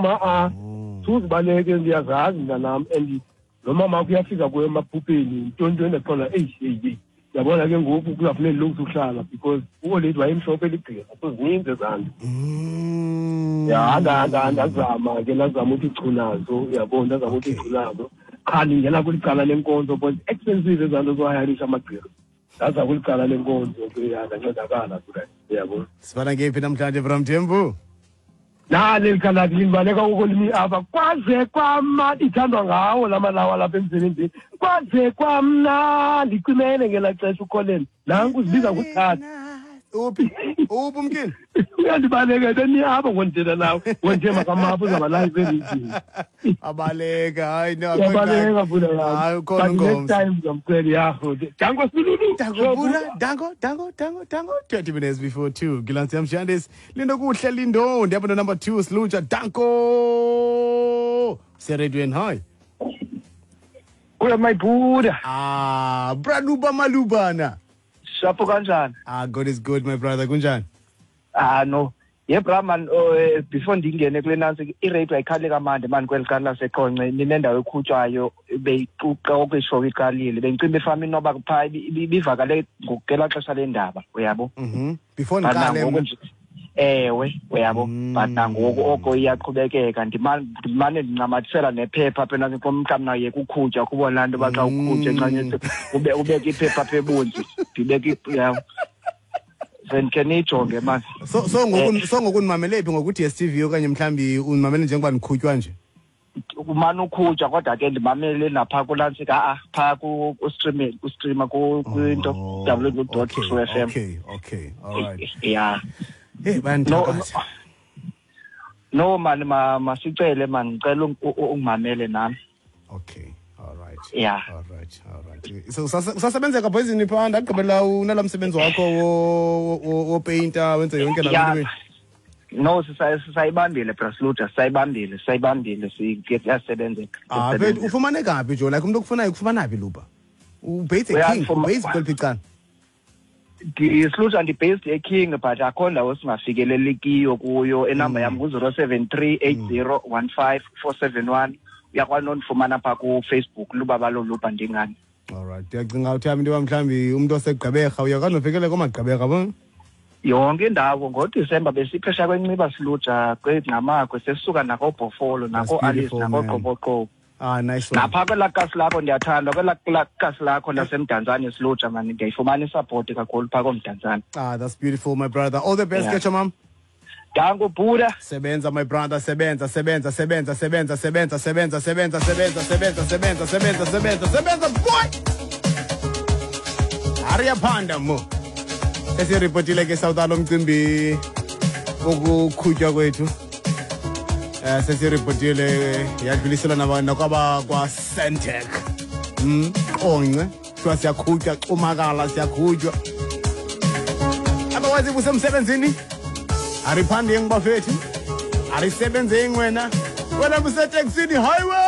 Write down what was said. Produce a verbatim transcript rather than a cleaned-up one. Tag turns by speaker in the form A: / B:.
A: A suzibaleke ndiyazazi mntanam and lo mama wakho uyafika kuyo emaphupheni ntontoni ndaqonda eyi eyi eyi yabona ke ngoku kuzafuneka ndilungise uhlala because uoledi wayemhlophe ligqirha so zininzi ezaa nto. Ya ndazama ke ndazama uthi chu nazo uyabona ndazama uthi chu nazo qha ndingena kweli cala lenkonzo but expensive ezaa nto zohayarisha amagqirha. Ndaza kweli cala lenkonzo ke ya ndancedakala uyabona.
B: Sifana ngephi namhlanje Bra Mthembu?
A: Nali likhaladi limbaleka ukolimi apha kwaze kwamnandi ithandwa ngawo la malawa lapha emsebenzini kwaze kwamnandi icimele ngelaa xesha uColin nanku uzibiza nguthatha.
B: Uphi uphi umkini
A: uyandibaleka beni apha ngondithetha nawe ngonje makamapha uzawuba live ereyidini.
B: Abaleka hayi no
A: uyabaleka vula yam.
B: Hayi ukhona
A: But next time ndizamcela yakho danko silulu
B: Danko Bura danko danko danko danko twenty minutes before two Gilansi Yamshandis Lindo kuhle Lindo ndiyabona number two Sluja danko seredweni hi
C: Uya my Buddha.
B: Ah Braluba malubana
C: Shapo kanjani?
B: Ah God is good my brother kunjani?
C: Ah no. Ye bra man uh, before ndingene kule nansi i-radio ayikhale kamandi man kweli cala laseQonce ninendawo ekhutshwayo beyiquqa okweshow iqalile bengicimba efama inoba phaa ibivakale ngokugelaa xesha lendaba uyabo.
B: Mhm. Before ndiqale
C: ewe uyabo but nangoku oko iyaqhubekeka ndimane ndincamathisela nephepha apha enantsi mhlawumbi naye kukhutshwa kubona laa nto uba xa ukhutshwa encanyeni ube ubeke iphepha apha ebunzi ndibeke uyabo. Then ke niyijonge mani.
B: So so ngoku so ngoku ndimamele phi ngoku D S T V okanye mhlawumbi undimamele njengoba ndikhutywa nje?
C: Umane ukhutshwa kodwa ke ndimamele naphaa kulantsika a-a phaa ku-streaming ku-streama kwinto w w dot true f m.
B: Okay okay all right.
C: Yeah.
B: Hey bayandithakathi.
C: No man masicele man ngicela ungimamele nami.
B: Okay. All right.
C: Yeah.
B: All right. All right. So usasebenzeka poison phaa ndagqibela unala msebenzi wakho wo painter wenze yonke la nto.
C: No sisayibambile Brasluta sisayibambile sisayibambile siyasebenzeka.
B: Ah but ufumaneka phi jo like umuntu okufunayo ukufumana phi Luba? Ubase eKing, ubase kweliphi icala?
C: Ndisluta ndi-based eKing but akho ndawo singafikelelikiyo kuyo enamba yam ngu-zero seven three eight zero one five four seven one. Uyakwazi nondifumana phaa kuFacebook Lubabalo Luba ndingani.
B: All right. Ndiyacinga uthi into yoba mhlawumbi umntu oseGqeberha uyakwazi nofikelele koomagqeberha bo?
C: Yonke indawo ngoDisemba besiphesha kweNciba Siluja kweNgqamakwe sesisuka nakoBhofolo nako-Alice nakoQoboqobo.
B: Ah nice one.
C: Napha kwelaa kasi lakho ndiyathanda kwelaa kasi lakho laseMdantsane Siluja man ndiyayifumana isapoti kakhulu phaa koMdantsane.
B: Ah that's beautiful my brother. All the best yeah. Ketcha mom.
C: Danko Buddha.
B: Sebenza my brother sebenza sebenza sebenza sebenza sebenza sebenza sebenza sebenza sebenza sebenza sebenza sebenza sebenza boy. Ariyaphanda mo. Esiripotile ke South alo mcimbi wokuqhutywa kwethu. Eh sesiripotile yadluliselwa nakwaba kwa Sentech. Mm Qonce kuthiwa siyaqhutywa cumakala siyaqhutywa. Otherwise usemsebenzini Ariphandeng bafethu. Arisebenzeng wena. Wena buseteksini highway.